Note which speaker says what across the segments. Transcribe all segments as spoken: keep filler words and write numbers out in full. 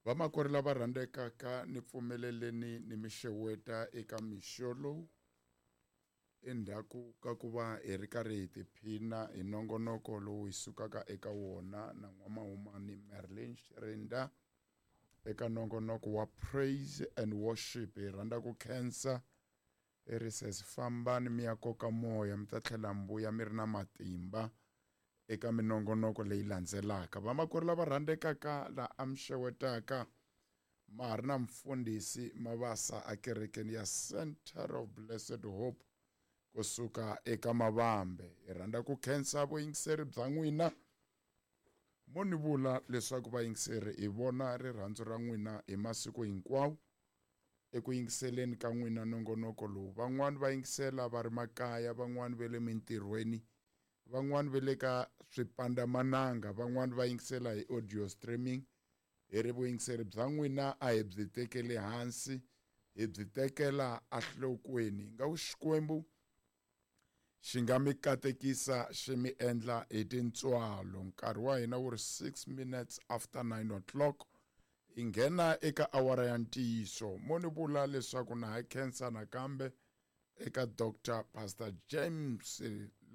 Speaker 1: Vamakwerhu lava rhandzekaka ni pfumeleleni ni mi xeweta eka mixo lowu endzhaku ka ku va hi ri karhi hi tiphina hi nongonoko lowu hi sukaka eka wona na n'wamahumani Merlin Xirinda eka nongonoko wa praise and worship. Hi rhandza ku khensa i ri sesi fambani mi ya koka moya mi ta tlhela mbuya mi ri na matimba eka minongonoko leyi landzelaka. Vamakwerhu lava rhandzekaka la a mi xewetaka ma ha ri na mfundhisi Mabasa ekerekeni ya Center of Blessed Hope kusuka eka Mavambe. Hi rhandza ku khensa vuyingiseri bya n'wina mo ni vula leswaku vayingiseri hi vona rirhandzu ra n'wina hi masiku hinkwawo eku yingiseleni ka n'wina nongonoko lowu. Van'wani va yingisela va ri makaya, van'wani va le mintirhweni, van'wani va le ka swipandamananga, van'wani va yingisela hi audio streaming. Hi ri vuyingiseri bya n'wina a hi byi tekeli hansi, hi byi tekela enhlokweni. Nga ku Xikwembu xi nga mi katekisa xi mi endla hi tintswalo. Nkarhi wa hina wu ri six minutes after nine o'clock. Hi nghena eka awara ya ntiyiso. Mo ni vula leswaku na ha khensa nakambe eka Doctor Pastor James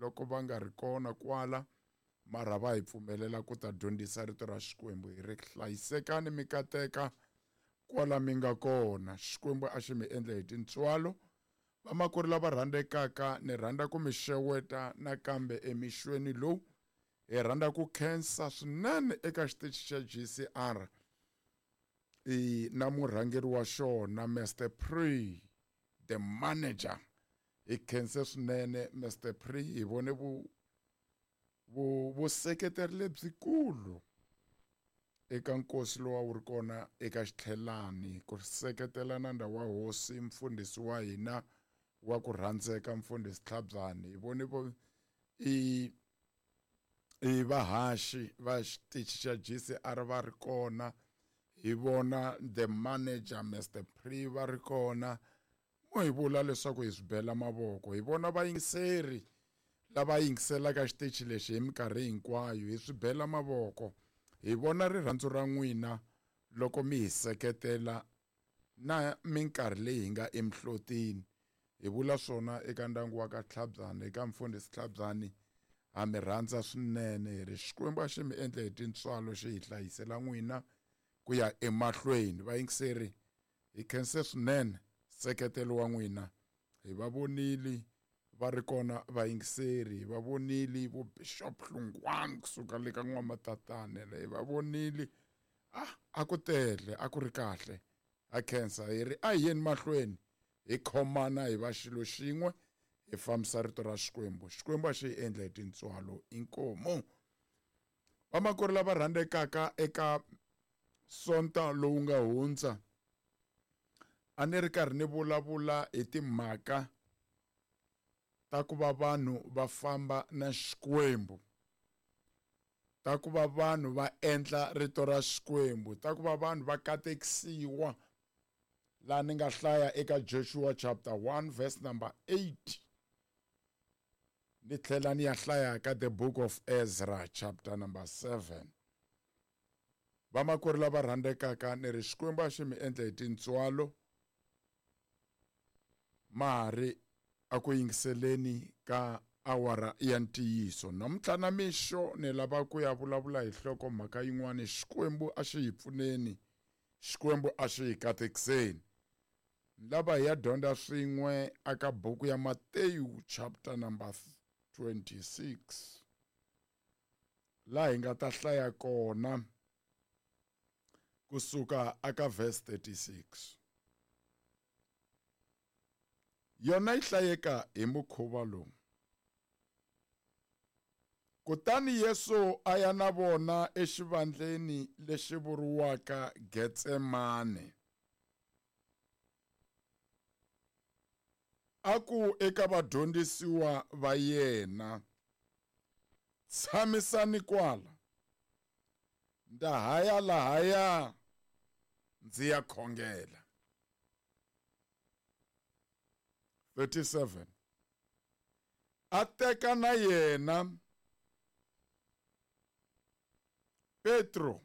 Speaker 1: loko va nga ri kona kwala mara va hi pfumelela ku ta dyondzisa rito ra Xikwembu. Hi ri hlayisekani mi kateka kwala mi nga kona. Xikwembu a xi mi endle hi tintswalo. Vamakwerhu lava rhandzekaka ni rhandza ku mi xeweta nakambe emixweni lowu. Hi rhandza ku khensa swinene eka xitichi xa G C R i na murhangeri wa xona Mister Pre, the manager. Hi khense swinene Mister Pre, hi vone vu vu vuseketeri lebyikulu eka nkosi lowu a wu ri kona eka xitlhelani ku seketela nandza wa hosi mfundhisi wa hina wa ku rhandzeka mfundhisi Tlhabyani. Hi vone vo i i vahaxi va xitichi xa G C R va ri kona, hi vona the manager Mister Pre va ri kona. Mo hi vula leswaku hi swi bela mavoko. Hi vona vayingiseri lava yingiselaka xitichi lexi hi minkarhi hinkwayo, hi swi bela mavoko. Hi vona rirhandzu ra n'wina loko mi hi seketela na minkarhi leyi hi nga emihlotini. Hi vula swona eka ndyangu wa ka Tlhabyani, eka mfundhisi Tlhabyani, ha mi rhandza swinene. Hi ri Xikwembu a xi mi endle hi tintswalo xi hi hlayisela n'wina ku ya emahlweni. Vayingiseri, hi khense swinene nseketelo wa n'wina. Hi va vonile va ri kona vayingiseri, hi va vonile vo Bishop Hlungwani kusuka le ka N'wamatatane, hi va vonile. Ah, a ku tele, a ku ri kahle. Ha khensa, hi ri a hi yeni mahlweni hi khomana hi va xilo xin'we, hi fambisa rito ra Xikwembu. Xikwembu a xi hi endla hi tintswalo. Inkomu. Vamakwerhu lava rhandzekaka, eka Sonta lowu nga hundza a ni ri karhi ni vulavula hi timhaka ta ku va vanhu va famba na Xikwembu, ta ku va vanhu va endla rito ra Xikwembu, ta ku va vanhu va katekisiwa. Laha ni nga hlaya eka Joshua chapter one verse number eight, ni tlhela ni ya hlaya ka the book of Ezra chapter number seven. Vamakwerhu lava rhandzekaka, ni ri Xikwembu a xi mi endle hi tintswalo ma ha ri a ku yingiseleni ka awara ya ntiyiso. Namuntlha na mixo ni lava ku ya vulavula hi nhlokomhaka yin'wana. Xikwembu a xi hi pfuneni, Xikwembu a xi hi katekiseni. Ni lava hi ya dyondza swin'we aka buku ya Mateyu chapter number twenty-six, laha hi nga ta hlaya kona kusuka aka verse thirty-six. Yona yi hlayeka hi mukhuva lowu. Kutani Yesu a ya na vona exivandleni lexi vuriwaka Getsemane. A ku eka vadyondzisiwa va yena, tshamisani kwala, nda haya lahaya ndzi ya khongela. thirty-seven. A teka na yena Petro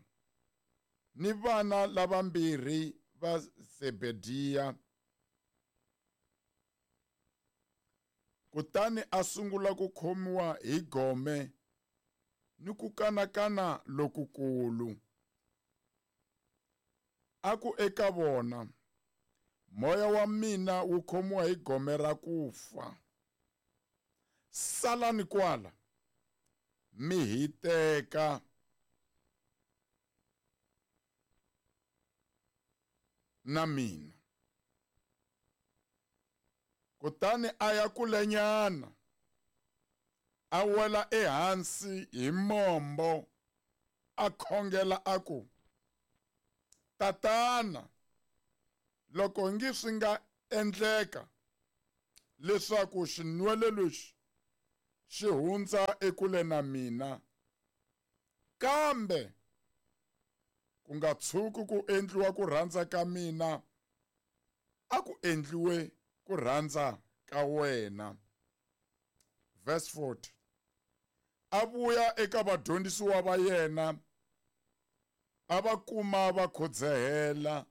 Speaker 1: ni vana lavambirhi va Zebediya. Kutani a sungula ku khomiwa hi gome ni ku kanakana lokukulu. A ku eka vona, moya wa mina wu khomiwa hi gome ra ku fa. Salani kwala, mi hiteka na mina. Kutani a ya kulenyana, a wela ehansi hi mombo, a khongela a ku, Tatana, loko ngi swi nga endleka leswaku xinwelo lexi xi hundza ekule na mina, kambe ku nga tshuki ku endliwa ku rhandza ka mina, a ku endliwe ku rhandza ka wena. Verse forty. A vuya eka vadyondzisiwa va yena, a va kuma va khodzehela.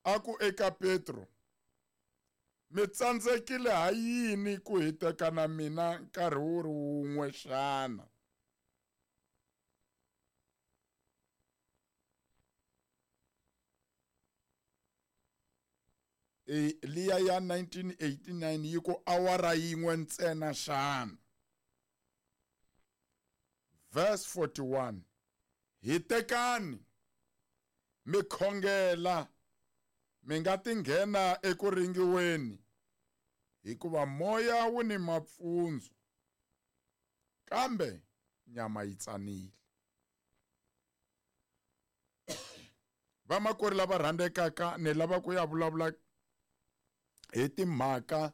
Speaker 1: A ku eka Petro, mi tsandzekile ha yini ku hiteka na mina nkarhi wu ri wun'we xana? E liya ya nineteen eighty-nine yi ku awara yin'we ntsena xana? Verse forty-one. Hitekani, mi khongela, mi nga ti nghena eku ringiweni, hikuva moya wu ni mapfundzu, kambe nyama yi tsanile. Vamakwerhu lava rhandzekaka, ni lava ku ya vulavula hi timhaka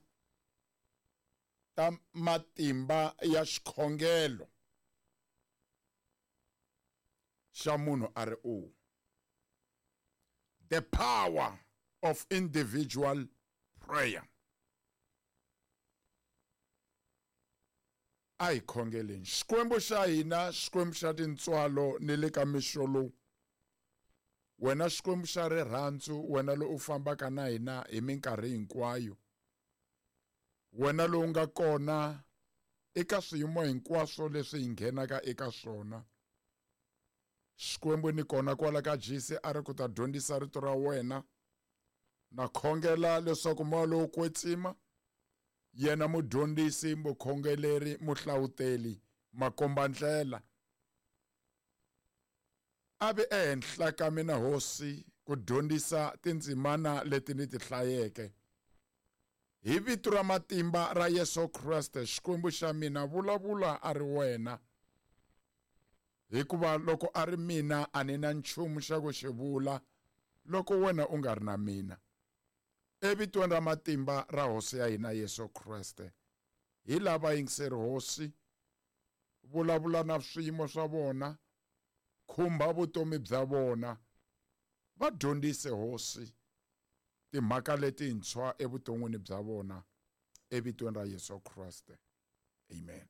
Speaker 1: ta matimba ya xikhongelo xa munhu a ri un'we. The power of individual prayer. A hi khongeleni. Xikwembu xa hina, Xikwembu xa tintswalo ni le ka mixo lowu. Wena Xikwembu xa rirhandzu, wena lowu u fambaka na hina hi minkarhi hinkwayo. Wena lowu nga kona eka swiyimo hinkwaswo leswi hi nghenaka eka swona. Xikwembu ni kona kwala ka G C a ri ku ta dyondzisa rito ra wena. Na khongela leswaku moya lowo kwetsima, yena mudyondzisi, mukhongeleri, muhlawuteli, makombandlela, a ve ehenhla ka mina Hosi ku dyondzisa tindzimana leti ni ti hlayeke. Hi vito ra matimba ra Yesu Kreste, Xikwembu xa mina, vulavula a ri wena. Hikuva loko a ri mina a ni na nchumu xa ku xi vula loko wena u nga ri na mina. Evitweni ra matimba ra Hosi ya hina Yesu Kreste, hi lava yingiseri Hosi, vulavula na swiyimo swa vona, khumba vutomi bya vona, va dyondzise Hosi timhaka letintshwa evuton'wini bya vona, evitweni ra Yesu Kreste. Amen.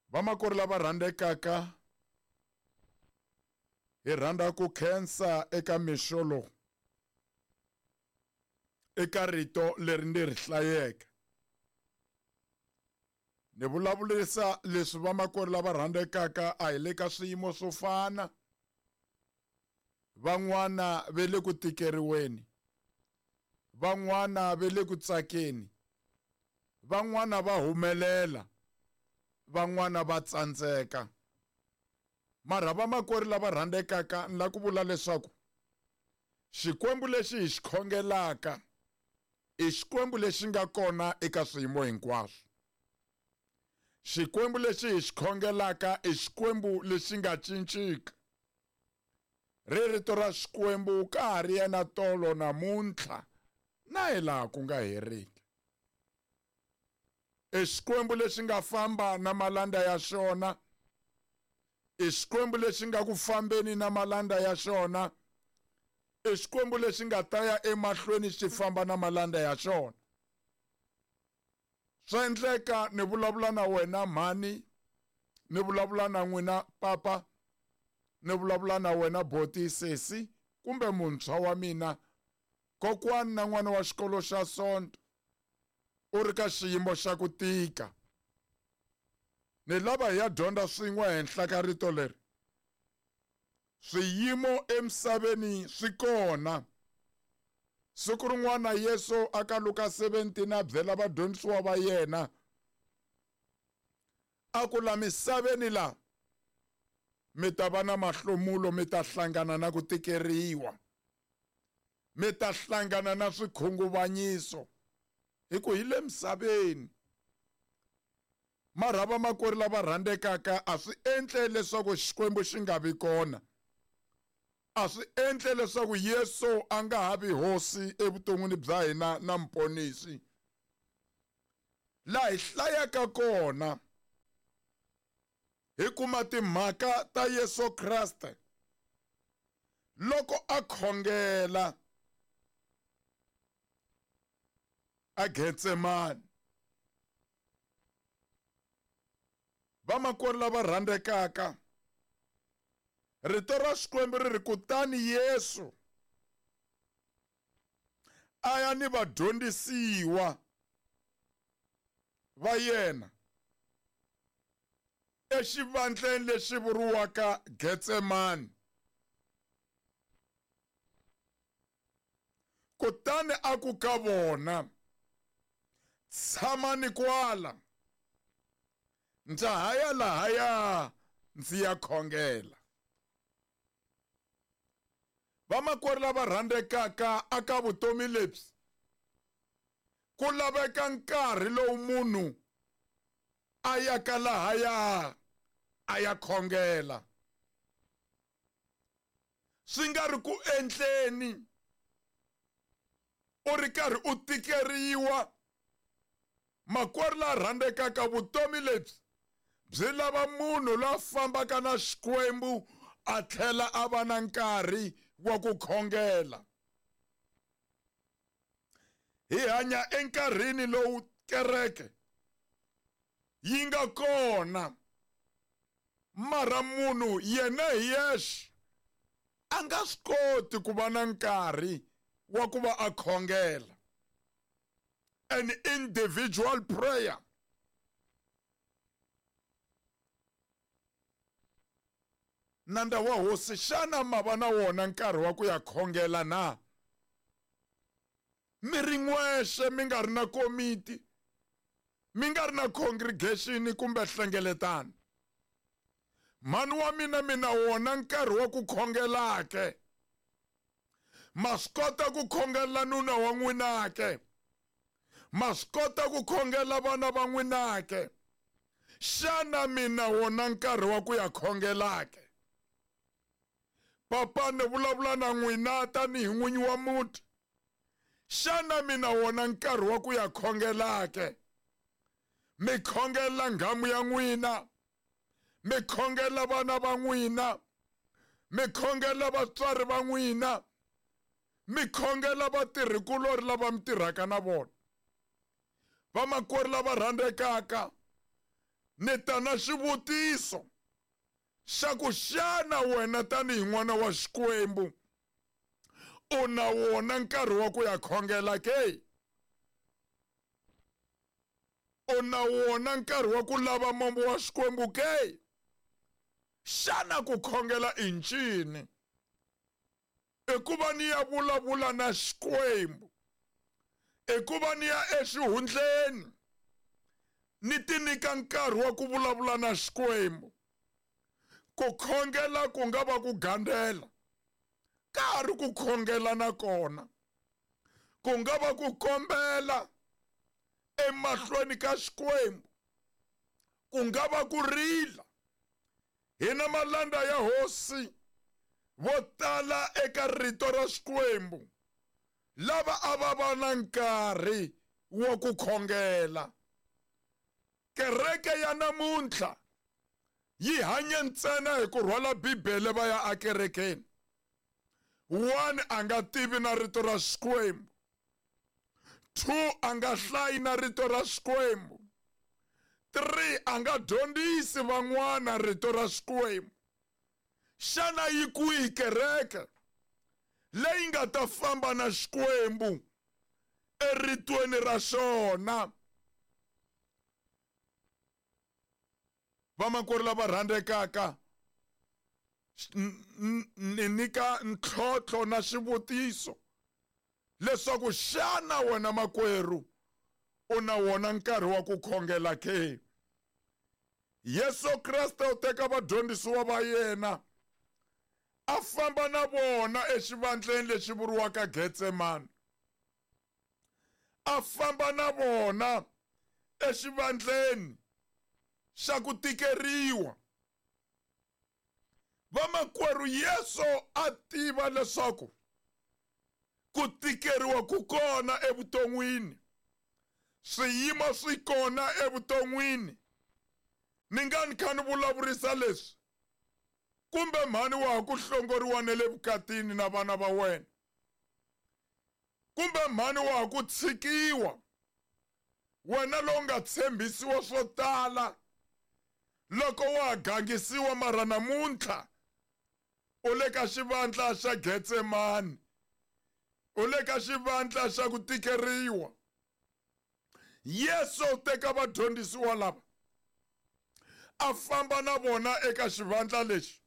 Speaker 1: Vamakwerhu lava rhandzekaka, hi rhandza ku khensa eka mixo lowu, eka rito leri ni ri hlayeke. Ni vulavurisa leswi vamakwerhu lava rhandzekaka a hi le ka swiyimo swo fana. Van'wana ve le ku tikeriweni, van'wana ve le ku tsakeni, van'wana va humelela, van'wana va tsandzeka. Mara vamakwerhu lava rhandzekaka, ni lava ku vula leswaku Xikwembu lexi hi xi khongelaka i Xikwembu lexi nga kona eka swiyimo hinkwaswo. Xikwembu lexi hi xi khongelaka i Xikwembu lexi nga cinciki. Ri rito ra Xikwembu ka ha ri yena tolo namuntlha na hilaha ku nga heriki. I Xikwembu lexi nga famba na malanda ya xona, i Xikwembu lexi nga ku fambeni na malanda ya xona, i Xikwembu lexi nga ta ya emahlweni xi famba na malanda ya xona. Swa endleka ni vulavula na wena mhani, ni vulavula na n'wina papa, Ni vulavula na wena boti, sesi kumbe muntshwa wa mina, kokwani na n'wana wa xikolo xa Sonto, u ri ka xiyimo xa ku tika. Ni lava hi ya dyondza swin'we henhla ka rito leri. Swiyimo emisaveni swi kona. Siku rin'wana Yesu aka Luka seventeen a byela vadyondzisiwa va yena a ku la misaveni la mi ta va na mahlomulo, mi ta hlangana na ku tikeriwa, mi ta hlangana na swikhunguvanyiso, hi ku hi le misaveni. Mara vamakwerhu lava rhandzekaka, a swi endle leswaku Xikwembu xi nga vi kona, a swi endle leswaku Yesu a nga ha vi hosi evuton'wini bya hina na muponisi. Laha hi hlayaka kona hi kuma timhaka ta Yesu Kriste loko a khongela a Getsemani. Vamakwerhu lava rhandzekaka, rito ra Xikwembu ri ri kutani Yesu a ya ni vadyondzisiwa va yena exivandleni lexi vuriwaka Getsemani. Kutani a ku ka vona, tshamani kwala, ndza ha ya lahaya ndzi ya khongela. Vamakwerhu lava rhandzekaka, aka vutomi lebyi ku laveka nkarhi lowu munhu a ya ka lahaya a ya khongela. Swi nga ri ku endleni u ri karhi u tikeriwa. Makwerhu la rhandzekaka, vutomi lebyi byi lava munhu la fambaka na Xikwembu a tlhela a va na nkarhi wa ku khongela. Hi hanya enkarhini lowu kereke yi nga kona, mara munhu yena hi yexe a nga swi koti ku va na nkarhi wa ku va a khongela. An individual prayer. Nanda wa hosi, xana ma va na wona nkarhi wa ku ya khongela na? Mi ri n'wexe, mi nga ri na komiti, mi nga ri na congregation kumbe hlengeletano. Mhani wa mina, mi na wona nkarhi wa ku khongela ke? Ma swi kota ku khongela nuna wa n'wina ke? Ma swi kota ku khongela vana va n'wina ke? Xana mi na wona nkarhi wa ku ya khongela ke? Papa, ni vulavula na n'wina tanihi n'winyi wa muti. Xana mi na wona nkarhi wa ku ya khongela ke? Mi khongela nghamu ya n'wina, mi khongela vana va n'wina, mi khongela vatswari va n'wina, mi khongela vatirhikulori lava mi tirhaka na vona. Vamakwerhu lava rhandzekaka, ni ta na xivutiso xa ku xana wena tanihi n'wana wa Xikwembu u na wona nkarhi wa ku ya khongela ke? U na wona nkarhi wa ku lava mombo wa Xikwembu ke? Xana ku khongela i ncini? I ku va ni ya vulavula na Xikwembu, i ku va ni ya exihundleni ni ti nyika nkarhi wa ku vulavula na Xikwembu. Ku khongela ku nga va ku gandela, ka ha ri ku khongela na kona. Ku nga va ku kombela emahlweni ka Xikwembu, ku nga va ku rila. Hina malanda ya hosi vo tala eka rito ra Xikwembu lava a va va na nkarhi wa ku khongela. Kereke ya namuntlha yi hanya ntsena hi ku rhwala Bibele va ya akerekeni. One, a nga tivi na rito ra Xikwembu. Two, a nga hlayi na rito ra Xikwembu. Three, a nga dyondzisi van'wana rito ra Xikwembu. Xana yi kwihi kereke leyi nga ta famba na Xikwembu eritweni ra xona? Vamakwerhu lava rhandzekaka, ni nyika ntlhontlho na xivutiso leswaku xana wena makwerhu u na wona nkarhi wa ku khongela ke? Yesu Kreste u teka vadyondzisiwa va yena a famba na vona exivandleni lexi vuriwaka Getsemani. A famba na vona exivandleni xa ku tikeriwa. Vamakwerhu, Yesu a tiva leswaku ku tikeriwa ku kona evuton'wini, swiyimo swi kona evuton'wini. Ni nga ni kha ni vulavurisa leswi, kumbe mhani wa ha ku hlongoriwa na le vukatini na vana va wena, kumbe mhani wa ha ku tshikiwa, wena lowu nga tshembisiwa swo tala loko wa ha gangisiwa, mara namuntlha u le ka xivandla xa Getsemani, u le ka xivandla xa ku tikeriwa. Yesu u teka vadyondzisiwa lava a famba na vona eka xivandla lexi,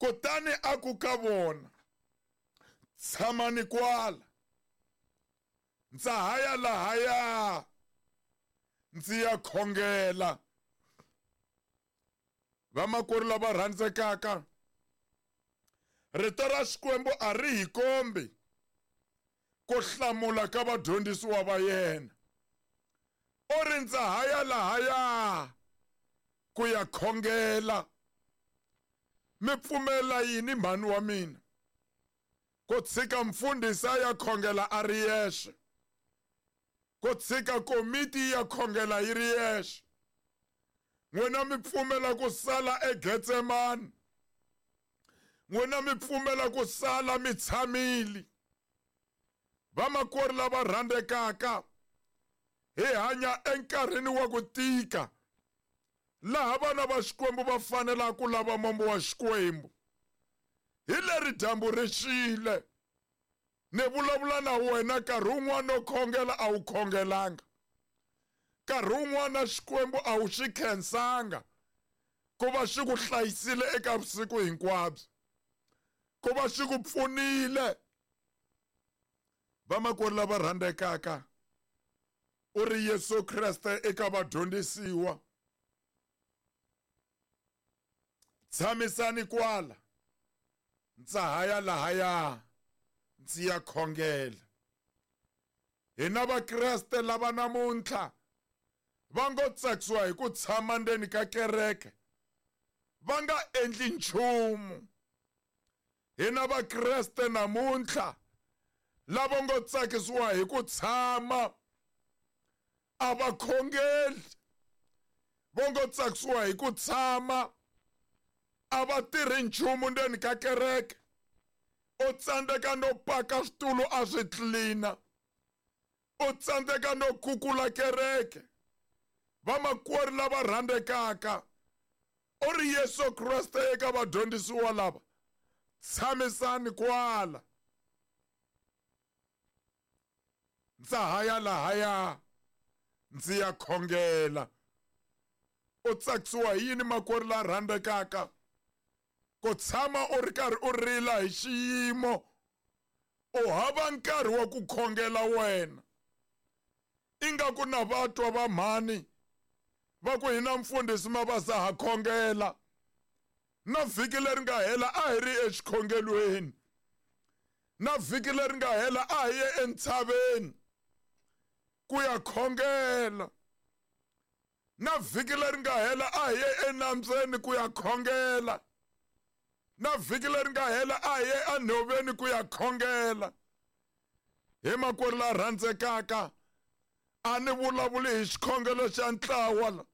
Speaker 1: kutani a ku ka vona, tshamani kwala, ndza ha ya lahaya ndzi ya khongela. Vamakwerhu lava rhandzekaka, rito ra Xikwembu a ri hi kombi ku hlamula ka vadyondzisiwa va yena. U ri ndza ha ya lahaya ku ya khongela. Mi pfumela yini mhani wa mina ku tshika mfundhisi a ya khongela a ri yexe, ku tshika komiti ya khongela yi ri yexe? N'wina mi pfumela ku sala eGetsemani, n'wina mi pfumela ku sala mi tshamile. Vamakwerhu lava rhandzekaka, hi hanya enkarhini wa ku tika laha vana va Xikwembu va fanelaka ku lava mombo wa Xikwembu. Hi leri dyambu ri xile, ni vulavula na wena nkarhi wun'wana u khongela a wu khongelanga, nkarhi wun'wana Xikwembu a wu xi khensanga ku va xi ku hlayisile eka vusiku hinkwabyo, ku va xi ku pfunile. Vamakwerhu lava rhandzekaka, u ri Yesu Kreste eka vadyondzisiwa, tshamisani kwala, ndza ha ya lahaya ndzi ya khongela. Hina Vakreste lava namuntlha va ngo tsakisiwa hi ku tshama ndzeni ka kereke va nga endli nchumu. Hina Vakreste namuntlha lava ngo tsakisiwa hi ku tshama a va khongeli, va ngo tsakisiwa hi ku tshama a va tirhi nchumu ndzeni ka kereke. U tsandzeka no paka switulu a swi tlilina, u tsandzeka no kukula kereke. Vamakwerhu lava rhandzekaka, u ri Yesu Kreste eka vadyondzisiwa lava, tshamisani kwala, ndza ha ya lahaya ndzi ya khongela. U tsakisiwa hi yini makwerhu la rhandzekaka? Ku tshama u ri karhi u rila hi xiyimo, u hava nkarhi wa ku khongela wena. Ingaku na vatwa va mhani va ku hina mfundhisi Mabasa ha khongela, na vhiki leri nga hela a hi ri exikhongelweni, na vhiki leri nga hela a hi ye entshaveni ku ya khongela, na vhiki leri nga hela a hi ye enambyeni ku ya khongela, na vhiki leri nga hela a hi ye enhoveni ku ya khongela. Hi makwerhu la rhandzekaka, a ni vulavuli hi xikhongelo xa ntlawa la,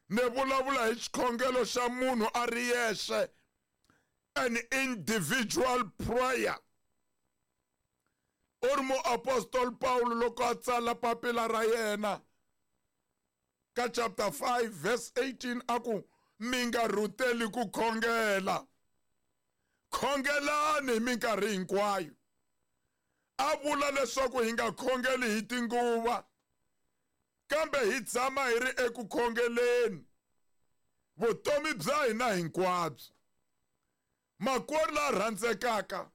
Speaker 1: ni vulavula hi xikhongelo xa munhu a ri yexe, an individual prayer. U ri muapostoli Paulo loko a tsala papila ra yena ka chapter five verse eighteen a ku, Mi nga rhuteli ku khongela. Khongelani hi minkarhi hinkwayo. A vula leswaku hi nga khongeli hi tinguva, kambe hi tshama hi ri eku khongeleni vutomi bya hina hinkwabyo. Makwerhu la rhandzekaka,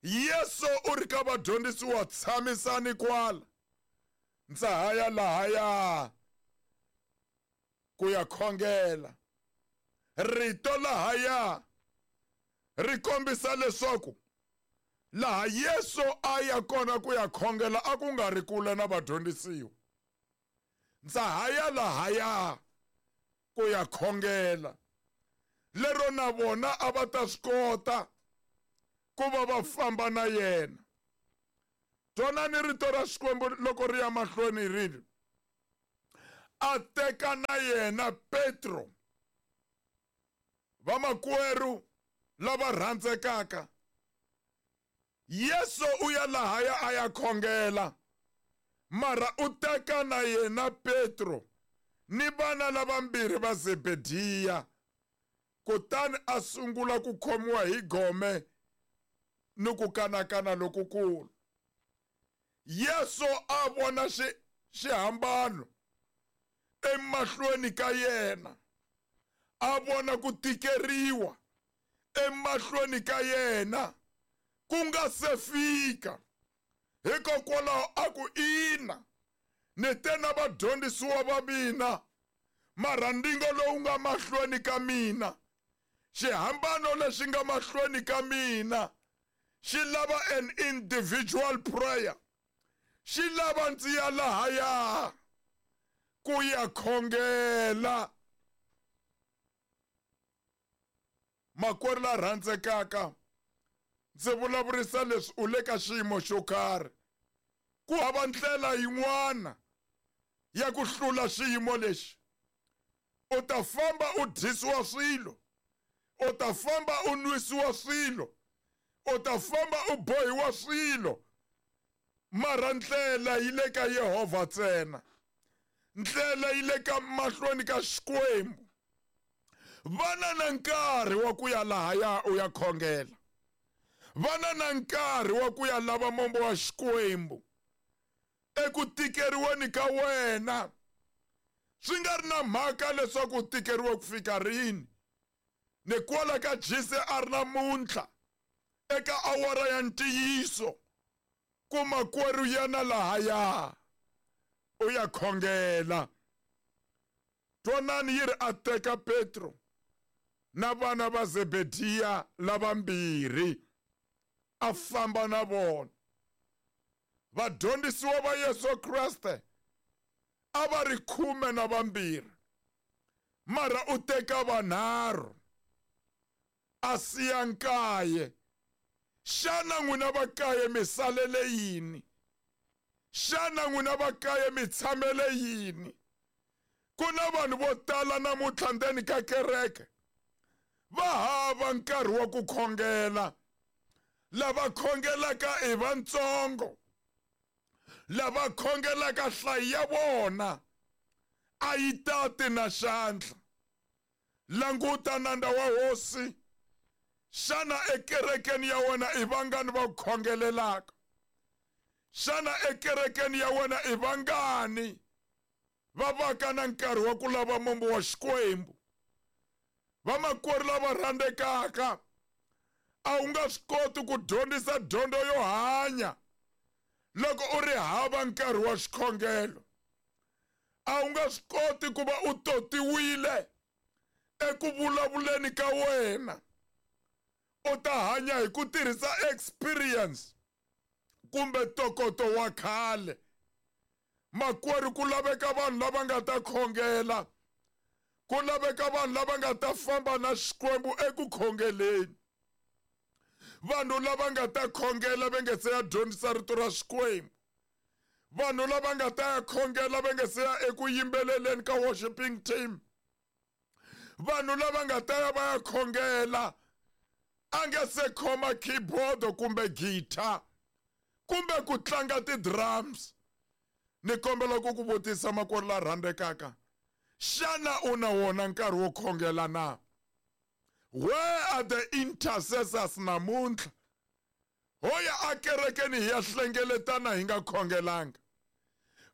Speaker 1: Yesu u ri ka vadyondzisiwa, tshamisani kwala, ndza ha ya lahaya ku ya khongela. Rito lahaya ri kombisa leswaku laha Yesu a ya kona ku ya khongela a ku nga ri kule na vadyondzisiwa. Ndza ha ya lahaya ku ya khongela, lero na vona a va ta swi kota ku va va famba na yena. Twanani rito ra Xikwembu loko ri ya mahlweni ri ri, a teka na yena Petro. Vamakwerhu lava rhandzekaka, Yesu u ya lahaya a ya khongela, mara u teka na yena Petro ni vana lavambirhi va Zebediya, kutani a sungula ku khomiwa hi gome ni ku kanakana lokukulu. Yesu a vona xihambano emahlweni ka yena, a vona ku tikeriwa emahlweni ka yena ku nga se fika. Hikokwalaho a ku, ina, ni te na vadyondzisiwa va mina, mara ndzingo lowu nga mahlweni ka mina, xihambano lexi nga mahlweni ka mina, xi lava an individual prayer. Xi lava ndzi ya lahaya ku ya khongela. Makwerhu la rhandzekaka, ndzi vulavurisa leswi u le ka xiyimo xo karhi. Ku hava ndlela yin'wana ya ku hlula xiyimo lexi. U ta famba u dyisiwa swilo, u ta famba u nwisiwa swilo, u ta famba u bohiwa swilo, mara ndlela yi le ka Yehovha ntsena. Ndlela yi le ka mahlweni ka Xikwembu. Vana na nkarhi wa ku ya lahaya u ya khongela. Vana na nkarhi wa ku ya lava mombo wa Xikwembu. Eku tikeriweni ka wena, swi nga ri na mhaka leswaku u tikeriwe ku fika rini. Ni kwala ka G C R namuntlha, eka awara ya ntiyiso, ku makwerhu yana lahaya u ya khongela. Twanani yi ri a teka Petro na vana va Zebediya lavambirhi, a famba na vona. Vadyondzisiwa va Yesu Kreste a va ri khume na vambirhi, mara u teka vanharhu a siya nkaye. Xana n'wina va kaye mi salele yini? Xana n'wina va kaye mi tshamele yini? Ku na vanhu vo tala namuntlha ndzeni ka kereke va hava nkarhi wa ku khongela. Lava khongelaka i vantsongo, lava khongelaka nhlayo ya vona a yi tati na xandla. Languta nandza wa hosi, xana ekerekeni ya wena i vangani va ku khongelelaka? Xana ekerekeni ya wena i vangani va vaka na nkarhi wa ku lava mombo wa Xikwembu? Vamakwerhu lava rhandzekaka, a wu nga swi koti ku dyondzisa dyondzo yo hanya loko u ri hava nkarhi wa xikhongelo. A wu nga swi koti ku va u totiwile eku vulavuleni ka wena. U ta hanya hi ku tirhisa experience kumbe ntokoto wa khale. Makwerhu, ku laveka vanhu lava nga ta khongela, ku laveka vanhu lava nga ta famba na Xikwembu eku khongeleni. Vanhu lava nga ta khongela va nga se ya dyondzisa rito ra Xikwembu. Vanhu lava nga ta ya khongela va nga se ya eku yimbeleleni ka worshiping team. Vanhu lava nga ta ya va ya khongela a nga se khoma keyboard kumbe guitar kumbe ku tlanga ti-drums. Ni kombela ku ku vutisa makwerhu la rhandzekaka, Xana u na wona nkarhi wo khongela na? Where are the intercessors namuntlha? Ho ya akerekeni hi ya hlengeletana hi nga khongelanga.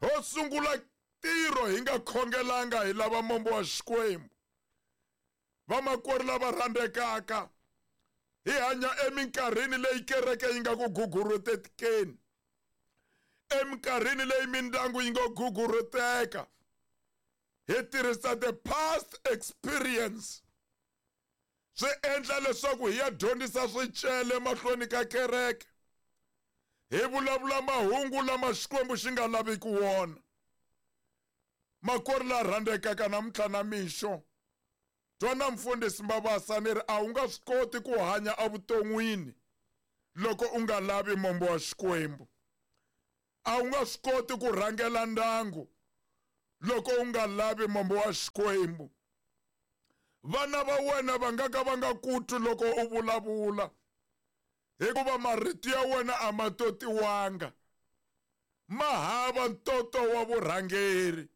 Speaker 1: Ho sungula ntirho hi nga khongelanga hi lava mombo wa Xikwembu. Vamakwerhu lava rhandzekaka, hi hanya eminkarhini leyi kereke yi nga ku gugurhutekeni, eminkarhini leyi mindyangu yi nga gugurhuteka. Hi tirhisa the past experience swi endla leswaku hi ya dyondzisa swicele mahlweni ka kereke, hi vulavula mahungu lama Xikwembu xi nga laviki wona. Makwerhu la rhandzekaka, namuntlha na mixo twana mfundhisi Mabasa ni ri a wu nga swi koti ku hanya evuton'wini loko u nga lavi mombo wa Xikwembu. A wu nga swi koti ku rhangela ndyangu loko u nga lavi mombo wa Xikwembu. Vana va wena va nga ka va nga kutwi loko u vulavula, hikuva marito ya wena a ma totiwanga, ma hava ntoto wa vurhangeri.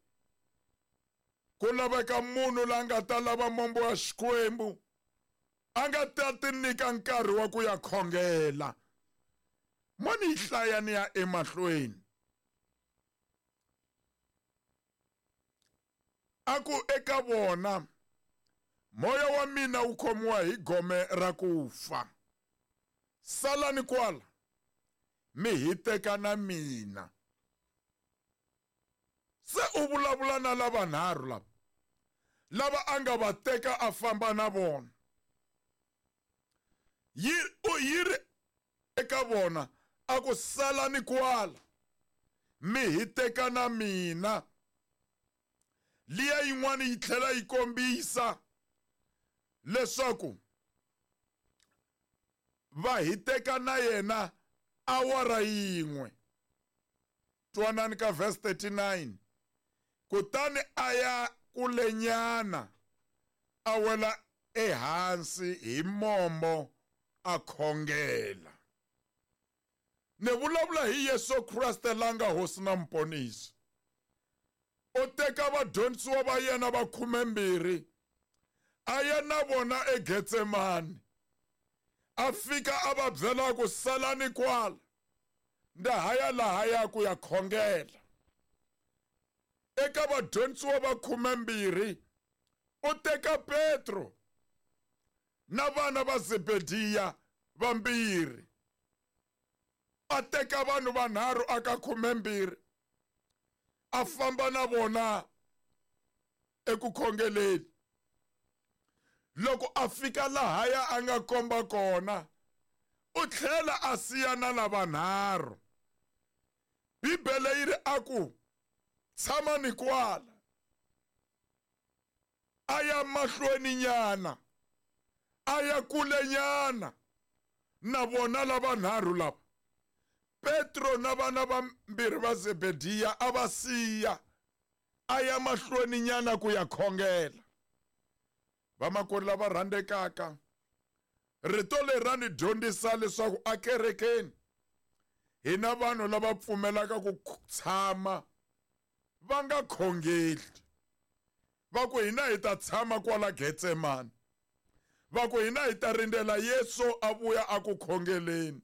Speaker 1: Ku laveka munhu la nga ta lava mombo wa Xikwembu, a nga ta ti nyika nkarhi wa ku ya khongela. Mo ni yi hlaya ni ya emahlweni. A ku eka vona, moya wa mina wu khomiwa hi gome ra ku fa. Salani kwala, mi hiteka na mina. Se u vulavula na lavanharhu lava, lava a nga va teka a famba na vona. Yi yi ri eka vona a ku salani kwala, mi hiteka na mina. Liya yin'wana yi tlhela yi kombisa leswaku va hiteka na yena awara yin'we. Twanani ka verse thirty-nine. Kutani a ya kulenyana, a wela ehansi hi mombo a khongela. Ni vulavula hi Yesu Kriste la nga hosi na muponisi. U teka vadyondzisiwa va yena va khumembirhi, a ya na vona eGetsemani. A fika a va byela ku salani kwala, nda haya lahaya ku ya khongela. Eka vadyondzisiwa va khumembirhi, u teka Petro na vana va Zebediya vambirhi. A teka vanhu vanharhu aka khumembirhi, a famba na vona eku khongeleni. Loko a fika lahaya a nga komba kona, u tlhela a siya na lavanharhu. Bibele yi ri a ku tshamani kwala, a ya mahlweni nyana, a ya kulenyana na vona lavanharhu lava. Petro na vana vambirhi va Zebediya a va siya, a ya mahlweni nyana ku ya khongela. Vamakwerhu lava rhandzekaka, rito leri ra ni dyondzisa leswaku akerekeni hi na vanhu lava pfumelaka ku tshama va nga khongeli. Va ku hina hi ta tshama kwala Getsemani, va ku hina hi ta rindzela Yesu a vuya a ku khongeleni.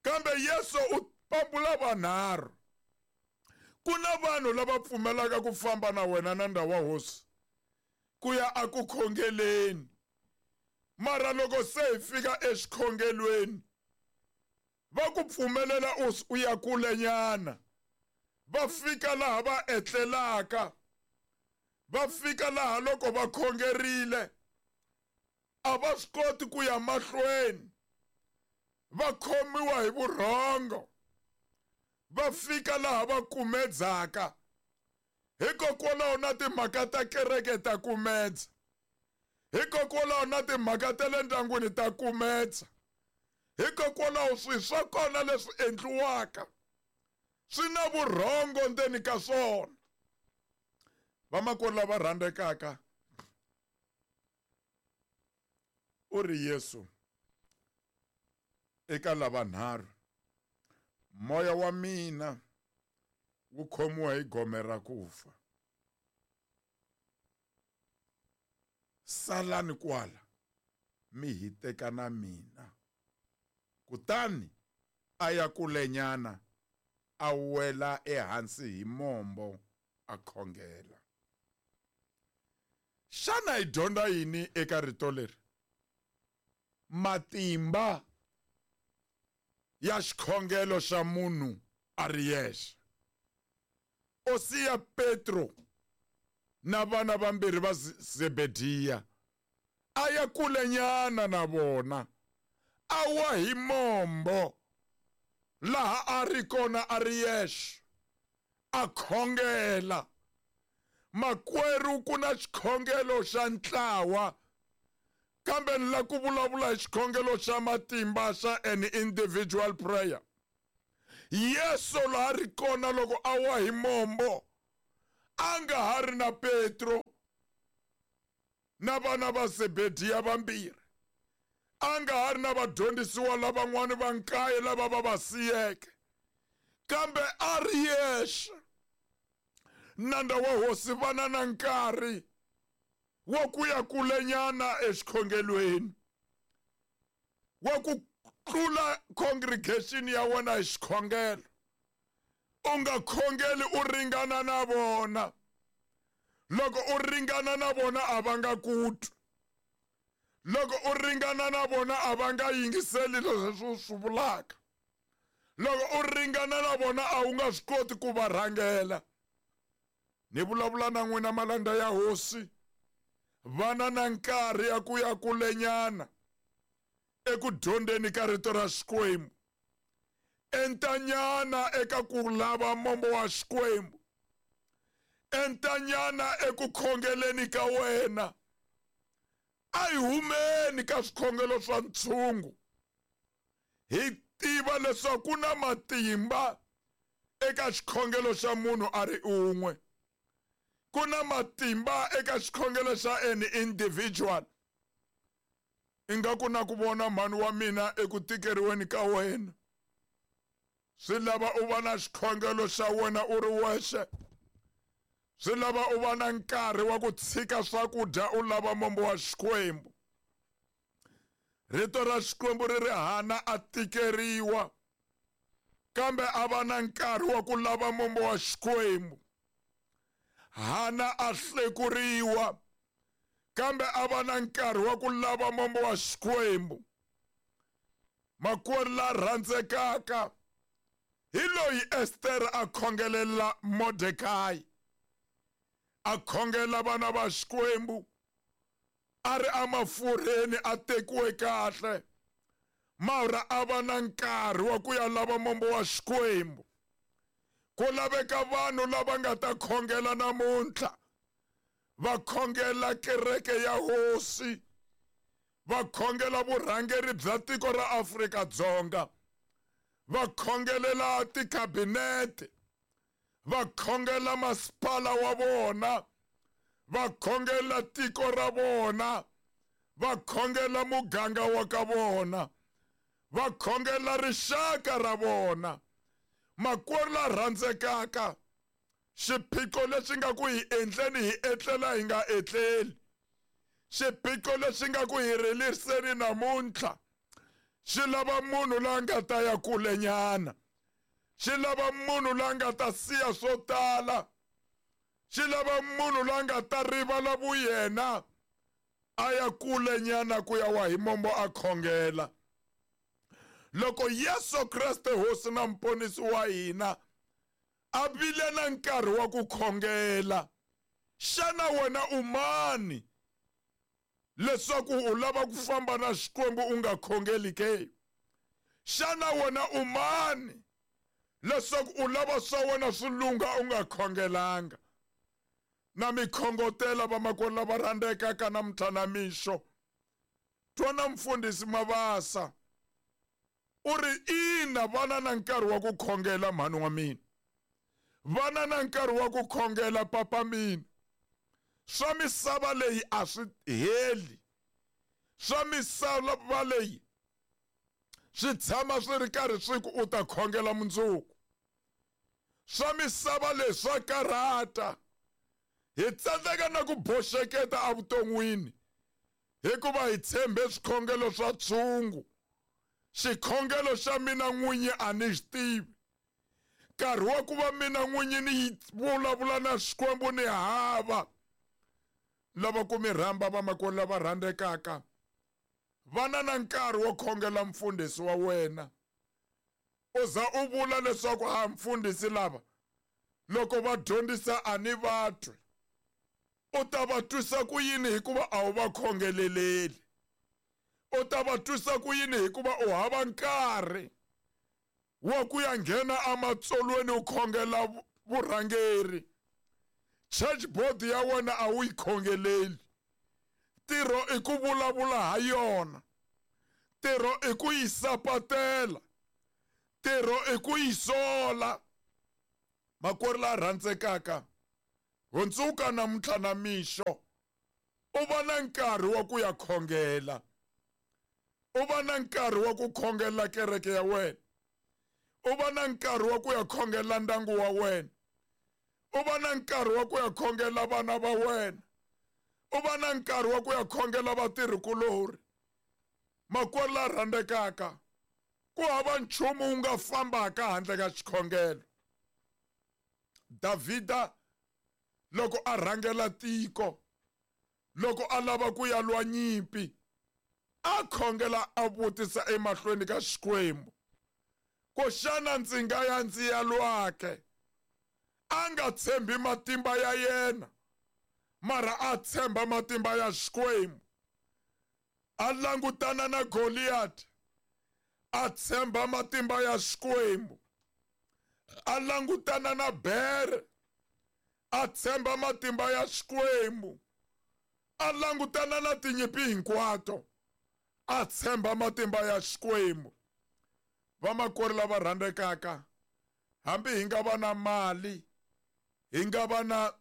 Speaker 1: Kambe Yesu u pambula vanharhu. Ku na vanhu lava pfumelaka ku famba na wena na ndhawu wa hosi ku ya a ku khongeleni, mara loko se hi fika exikhongelweni va ku pfumelela u ya kulenyana. Va fika laha va etlelaka, va fika laha loko va khongerile a va swi koti ku ya mahlweni, va khomiwa hi vurhongo. Va fika laha va kumedzaka. Hikokwalaho na timhaka ta kereke ta kumedza, hikokwalaho na timhaka ta le ndyangwini ta kumedza, hikokwalaho swilo swa kona leswi endliwaka swi na vurhongo ndzeni ka swona. Vamakwerhu lava rhandzekaka, u ri Yesu eka lavanharhu, moya wa mina wu khomiwa hi gome ra ku fa. Salani kwala mi hiteka na mina. Kutani a ya kulenyana a wela ehansi hi mombo a khongela. Xana hi dyondza yini eka rito leri? Matimba ya xikhongelo xa munhu a ri yexe. O siya Petro na vana vambirhi va Zebediya a ya kulenyana na vona, a wa hi mombo laha a ri kona a ri yexe, a khongela. Makwerhu, ku na xikhongelo xa ntlawa, kambe ni la ku vulavula hi xikhongelo xa matimba xa an individual prayer. Yesu laha ri kona loko a wa hi mombo a nga ha ri na Petro na vana va Zebediya vambirhi, a nga ha ri na vadyondzisiwa lavan'wana va nkaye lava va va siyeke, kambe a ri yexe. Nandza wa hosi, vana na nkarhi wa ku ya kulenyana exikhongelweni, wa ku tlula congregation ya wena hi xikhongelo. U nga khongeli u ringana na vona. Loko u ringana na vona a va nga ku twi. Loko u ringana na vona a va nga yingiseli leswi u swi vulaka. Loko u ringana na vona a wu nga swi koti ku va rhangela. Ni vulavula na n'wina malandza ya hosi, vana na nkarhi ya ku ya kulenyana eku dyondzeni ka rito ra Xikwembu, entanyana eka ku lava mombo wa Xikwembu, entanyana eku khongeleni ka wena. A hi humeni ka swikhongelo swa ntshungu, hi tiva leswaku ku na matimba eka xikhongelo xa munhu a ri un'we, ku na matimba eka xikhongelo xa an individual. Ingaku na ku vona mhani wa mina eku tikeriweni ka wena, swi lava u va na xikhongelo xa wena u ri wexe. Swi lava u va na nkarhi wa ku tshika swakudya u lava mombo wa Xikwembu. Rito ra Xikwembu ri ri Hana a tikeriwa, kambe a va na nkarhi wa ku lava mombo wa Xikwembu. Hana a hlekuriwa, kambe a va na nkarhi wa ku lava mombo wa Xikwembu. Makwerhu la rhandzekaka, hi loyi Ester a khongelela Mordekai, a khongela vana va Xikwembu, a ri emafurheni a tekiwe kahle, mara a va na nkarhi wa ku ya lava mombo wa Xikwembu. Ku laveka vanhu lava nga ta khongela namuntlha, va khongela kereke ya hosi, va khongela vurhangeri bya tiko ra Afrika-Dzonga, va khongelela tikhabinete, va khongela masipala wa vona, va khongela tiko ra vona, va khongela muganga wa ka vona, va khongela rixaka ra vona. Makwerhu la rhandzekaka, xiphiqo lexi nga ku hi endleni hi etlela hi nga etleli, xiphiqo lexi nga ku hi riliseni namuntlha, xi lava munhu la nga ta ya kulenyana, xi lava munhu la nga ta siya swo tala, xi lava munhu la nga ta rivala vuyena a ya kulenyana ku ya wa hi mombo a khongela. Loko Yesu Kreste hosi na mponisi wa hina a vile na nkarhi wa ku khongela, xana wena u mani leswaku u lava ku famba na Xikwembu u nga khongeli ke? Xana wena u mani leswaku u lava swa wena swi lungha u nga khongelanga? Na mi khongotela vamakwerhu lava rhandzekaka namuntlha na mixo. Twana mfundhisi Mabasa u ri ina, vana na nkarhi wa ku khongela mhani wa mina, vana na nkarhi wa ku khongela papa mina. Swa misava leyi a swi heli, swa misava leyi swi tshama swi ri karhi swi ku u ta khongela mundzuku. Swa misava leyi swa karhata, hi tsandzeka na ku boxeketa evuton'wini Hikuva hi tshembe swikhongelo swa tshungu. Xikhongelo xa mina n'winyi a ni xi tivi. Nkarhi wa ku va mina n'winyi ni vulavula na Xikwembu ni hava. Lava ku mi rhamba vamakwerhu lava rhandzekaka, vana na nkarhi wo khongela mfundhisi wa wena. U za u vula leswaku a mfundhisi lava loko va dyondzisa a ni va twi. U ta va twisa ku yini hikuva a wu va khongeleleli? U ta va twisa ku yini hikuva u hava nkarhi wa ku ya nghena ematsolweni u khongela vurhangeri? Church board ya wena a wu yi khongeleli. Ntirho i ku vulavula ha yona. Ntirho i ku yi sapatela. Ntirho i ku yi sola. Makwerhu la rhandzekaka, hundzuka namuntlha na mixo, u va na nkarhi wa ku ya khongela. U va na nkarhi wa ku khongela kereke ya wena. U va na nkarhi wa ku ya khongela ndyangu wa wena. U va na nkarhi wa ku ya khongela vana va wena. U va na nkarhi wa ku ya khongela vatirhikulorhi. Makwerhu la rhandzekaka, ku hava nchumu wu nga fambaka handle ka xikhongelo. Davhida loko a rhangela tiko, loko a lava ku ya lwa nyimpi, a khongela a vutisa emahlweni ka Xikwembu ku xana ndzi nga ya ndzi ya lwake? A nga tshembi matimba ya yena, mara a tshemba matimba ya Xikwembu. A langutana na Goliath, a tshemba matimba ya Xikwembu. A langutana na bere, a tshemba matimba ya Xikwembu. A langutana na tinyimpi hinkwato, a tshemba matimba ya Xikwembu. Vamakwerhu lava rhandzekaka, hambi hi nga va na mali, hi nga va na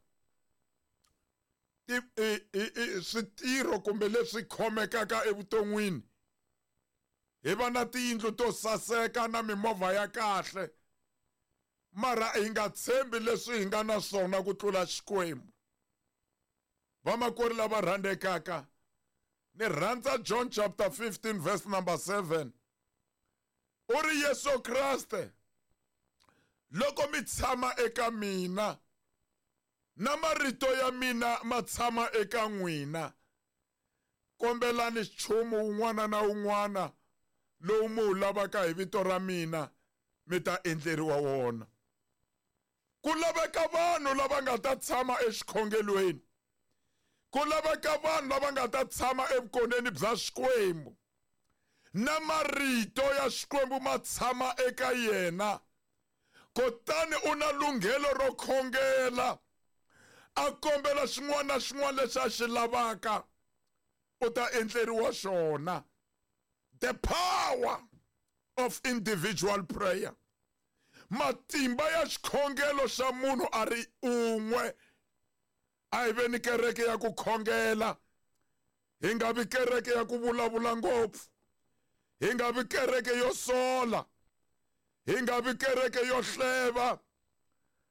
Speaker 1: switirho kumbe leswi khomekaka evuton'wini, hi va na tiyindlu to saseka na mimovha ya kahle, mara hi nga tshembi leswi hi nga na swona ku tlula Xikwembu. Vamakwerhu lava rhandzekaka, ni rhandza John chapter fifteen verse number seven. U ri Yesu Kriste, loko mi tshama eka mina na marito ya mina ma tshama eka n'wina, kombelani nchumu wun'wana na wun'wana lowu mi wu lavaka hi vito ra mina, mi ta endleriwa wona. Ku laveka vanhu lava nga ta tshama exikhongelweni. Ku laveka vanhu lava nga ta tshama evukoneni bya Xikwembu. Na marito ya Xikwembu ma tshama eka yena. Kutani u na lunghelo ro khongela, a kombela xin'wana na xin'wana lexi a xi lavaka, u ta endleriwa xona. The power of individual prayer. Matimba ya xikhongelo xa munhu a ri un'we. A hi veni kereke ya ku khongela, hi nga vi kereke ya ku vulavula ngopfu, hi nga vi kereke yo sola, hi nga vi kereke yo hleva.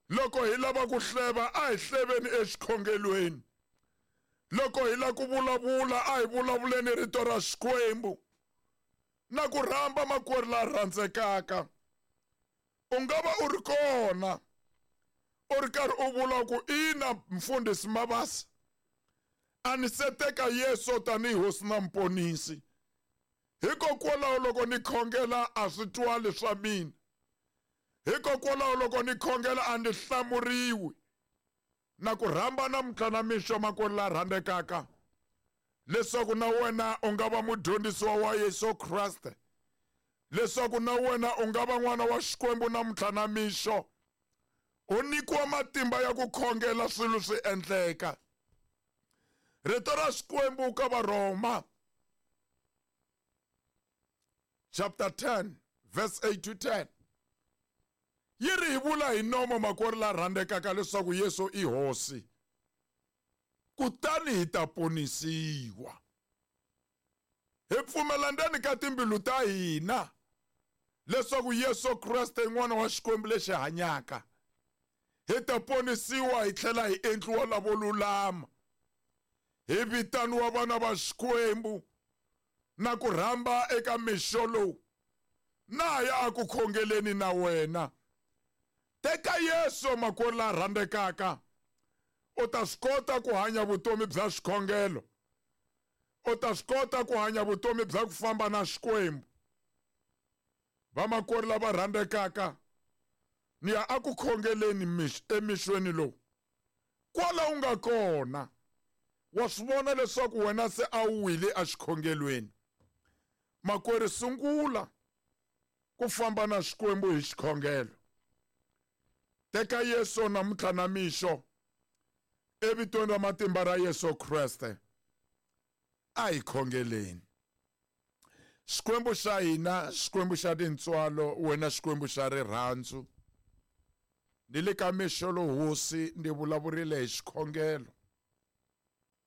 Speaker 1: Loko hi lava ku hleva, a hi hleveni exikhongelweni. Loko hi lava ku vulavula, a hi vulavuleni rito ra Xikwembu. Na ku rhamba makwerhu la rhandzekaka, u nga va u ri kona, u ri karhi u vula ku ina mfundhisi Mabasa, a ni se teka Yesu tanihi hosi na muponisi. Hikokwalaho loko ni khongela a swi twali swa mina. Hikokwalaho loko ni khongela a ni hlamuriwi. Na ku rhamba namuntlha na mixo makwerhu la rhandzekaka, leswaku na wena u nga va mudyondzisiwa wa Yesu Kriste, leswaku na wena u nga va n'wana wa Xikwembu namuntlha na mixo, u nyikiwa matimba ya ku khongela swilo swi endleka. Rito ra Xikwembu ka Varhoma chapter ten verse eight to ten yi ri hi vula hi nomo makwerhu la rhandzekaka leswaku Yesu i hosi, kutani hi ta ponisiwa. Hi pfumela ndzeni ka timbilu ta hina leswaku Yesu Kriste i n'wana wa Xikwembu lexi hanyaka, hi ta ponisiwa hi tlhela hi endliwa lavo lulama. Hi vitaniwa vana va Xikwembu na ku rhamba eka mixo lowu. Na ya a ku khongeleni na wena. Teka Yesu makwerhu la rhandzekaka. U ta swi kota ku hanya vutomi bya xikhongelo. U ta swi kota ku hanya vutomi bya ku famba na Xikwembu. Vamakwerhu lava rhandzekaka, ni ya a ku khongeleni emixweni lowu. Kwala u nga kona, wa swi vona leswaku wena se a wu wile exikhongelweni. Makwerhu, sungula ku famba na Xikwembu hi xikhongelo. Teka Yesu namuntlha na mixo evitweni ra matimba ra Yesu Kreste. A hi khongeleni. Xikwembu xa hina, Xikwembu xa tintswalo, wena Xikwembu xa rirhandzu. Ni le ka mixo lowu Hosi ndzi vulavurile hi xikhongelo.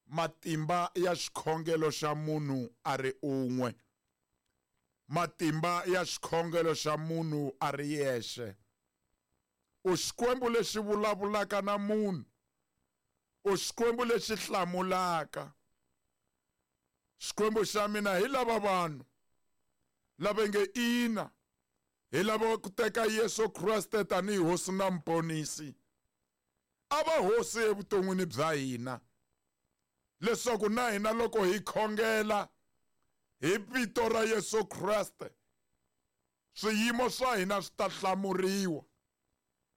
Speaker 1: Matimba ya xikhongelo xa munhu a ri un'we. Matimba ya xikhongelo xa munhu a ri yexe. U Xikwembu lexi vulavulaka na munhu. U Xikwembu lexi hlamulaka. Xikwembu xa mina hi lava vanhu lava nge ina, hi lava ku teka Yesu Kreste tanihi Hosi na Muponisi. A va Hosi evuton'wini bya hina, leswaku na hina loko hi khongela hi vito ra Yesu Kreste, swiyimo swa hina swi ta hlamuriwa.